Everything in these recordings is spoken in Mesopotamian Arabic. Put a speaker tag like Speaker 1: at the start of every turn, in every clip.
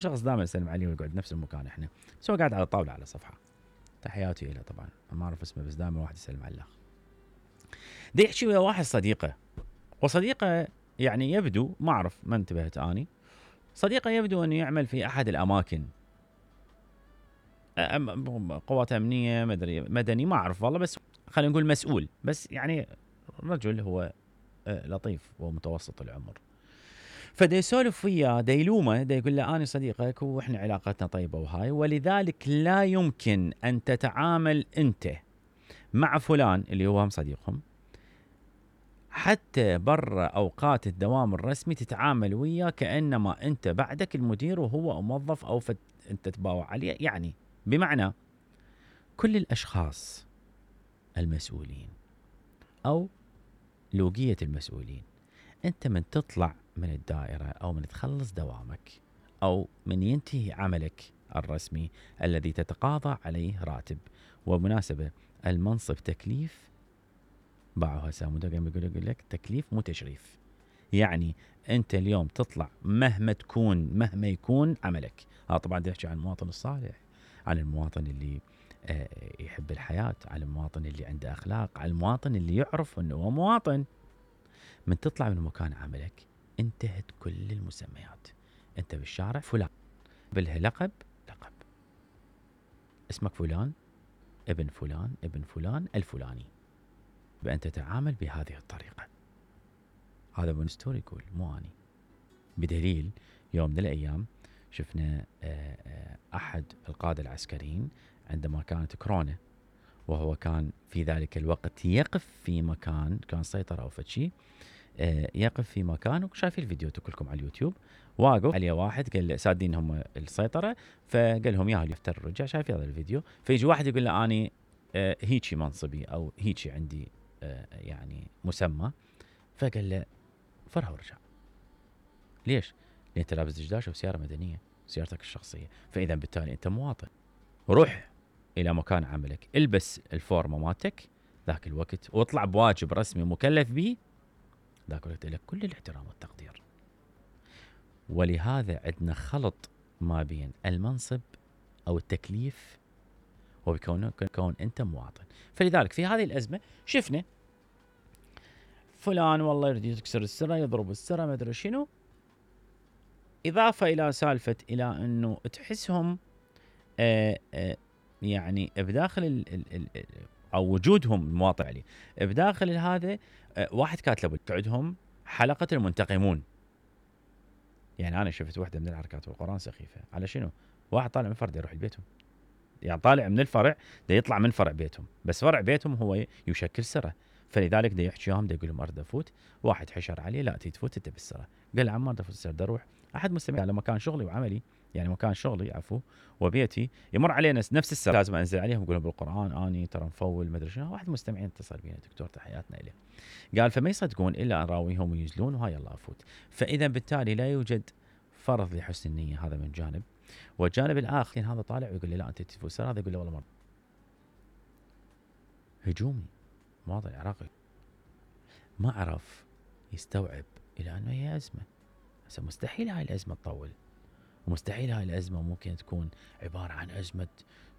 Speaker 1: شخص دائما يسلم عليه ويقعد نفس المكان احنا، بس هو قاعد على الطاوله على صفحه. تحياتي له طبعا، ما اعرف اسمه بس دائما واحد يسلم على الاخ. دي يحكي ويا واحد صديقه، وصديقه يعني يبدو، ما اعرف ما انتبهت اني، صديقه يبدو انه يعمل في احد الاماكن قوات امنيه مدني ما اعرف والله، بس خلينا نقول مسؤول، بس يعني رجل هو لطيف ومتوسط العمر. فدا يسولف وياه، دا يلومه، دا يقول له انا صديقك واحنا علاقتنا طيبه وهاي، ولذلك لا يمكن ان تتعامل انت مع فلان اللي هو هم صديقهم حتى برا اوقات الدوام الرسمي تتعامل وياه كانما انت بعدك المدير وهو موظف او انت تباوع عليه. يعني بمعنى كل الاشخاص المسؤولين او لوجيه المسؤولين، انت من تطلع من الدائره او من تخلص دوامك او من ينتهي عملك الرسمي الذي تتقاضى عليه راتب، ومناسبه المنصب تكليف، باعوا هسه مدقم يقول لك تكليف مو تشريف. يعني انت اليوم تطلع مهما يكون عملك. طبعا بدي احكي عن المواطن الصالح، عن المواطن اللي يحب الحياه، عن المواطن اللي عنده اخلاق، عن المواطن اللي يعرف انه هو مواطن. من تطلع من مكان عملك انتهت كل المسميات. انت بالشارع فلان، بالها لقب اسمك فلان، ابن فلان، ابن فلان الفلاني، بأن تتعامل بهذه الطريقة. هذا ابن ستوري يقول مو اني. بدليل يوم من الايام شفنا احد القادة العسكريين عندما كانت كورونا، وهو كان في ذلك الوقت يقف في مكان كان سيطرة او فشي، يقف في مكان، وشايفين الفيديو كلكم على اليوتيوب، واقف عليه واحد قال له سادين هم السيطرة، فقال لهم يا يفتر الرجع، شايف هذا الفيديو، فيجي واحد يقول له اني هيجي منصبي او هيجي عندي يعني مسمى، فقال له فرها ورجع. ليش؟ لان انت لابس دشداش وسياره مدنيه، سيارتك الشخصيه، فاذا بالتالي انت مواطن. روح الى مكان عملك، البس الفورمه مالتك ذاك الوقت، واطلع بواجب رسمي مكلف به ذاك الوقت، لك كل الاحترام والتقدير. ولهذا عندنا خلط ما بين المنصب او التكليف وكون انت مواطن. فلذلك في هذه الازمه شفنا فلان والله يريد يكسر السره، يضرب السره، ما ادري شنو، اضافه الى سالفه الى انه تحسهم يعني بداخل او وجودهم المواطن عليه بداخل هذا واحد كاتب تعدهم حلقه المنتقمون. يعني انا شفت واحده من الحركات بالقران سخيفه على شنو؟ واحد طالع من فرع يروح لبيتهم، يعني طالع من الفرع ده يطلع من فرع بيتهم، بس فرع بيتهم هو يشكل سره، فلذلك ده يحكيهم، ده يقول لهم اريد افوت، واحد حشر عليه لا تفوت انت بالسره، قال له عم ما افوت السره، اروح احد مستمع على مكان شغلي وعملي، يعني مكان شغلي عفو وبيتي يمر علينا نفس السره، لازم انزل عليهم اقول لهم بالقران اني ترى مفول ما ادري شنو. واحد مستمعين اتصل بينا دكتور تحياتنا له، قال فما يصدقون الا ان راويهم وينزلون وهاي يلا افوت. فاذا بالتالي لا يوجد فرض لحسن النيه، هذا من جانب. والجانب الاخر هذا طالع ويقول لي لا انت تفوت سره، هذا يقول له والله مرة هجومي مواطن عراقي ما عرف يستوعب الى انه هي ازمه. هسه مستحيل هاي الازمه تطول، ومستحيل هاي الازمه ممكن تكون عباره عن ازمه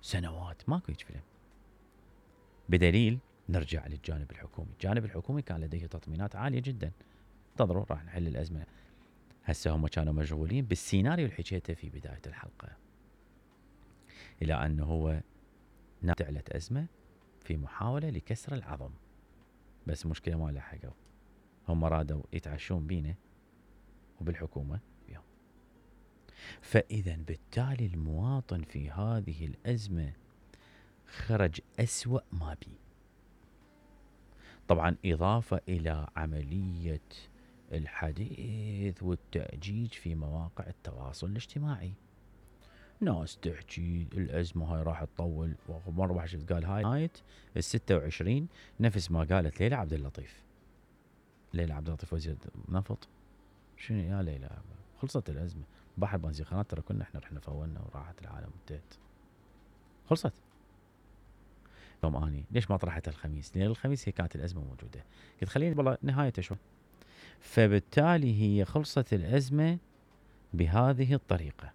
Speaker 1: سنوات، ماكو هيك فيلم. بدليل نرجع للجانب الحكومي، الجانب الحكومي كان لديه تطمينات عاليه جدا، انتظروا راح نحل الازمه. هسه هم كانوا مشغولين بالسيناريو اللي حكيته في بدايه الحلقه، الى انه هو تعلت ازمه في محاوله لكسر العظم، بس مشكله ما لحقوا، هم رادوا يتعشون بينا وبالحكومه بيهم. فاذا بالتالي المواطن في هذه الازمه خرج اسوأ ما بي. طبعا اضافه الى عمليه الحديث والتأجيج في مواقع التواصل الاجتماعي، ناس تحكي الازمه هاي راح تطول، ومره واحد شفت قال هاي نهايه ال26 نفس ما قالت ليلى عبد اللطيف. ليلى عبد اللطيف وزير نفط، شنو يا ليلى؟ خلصت الازمه، بحر بنزيخانات ترى كنا احنا رحنا فولنا وراحت العالم انتهت، خلصت. يوم اني ليش ما طرحت الخميس؟ لان الخميس هي كانت الازمه موجوده، قلت خليني والله نهايته شوي. فبالتالي هي خلصت الازمه بهذه الطريقه.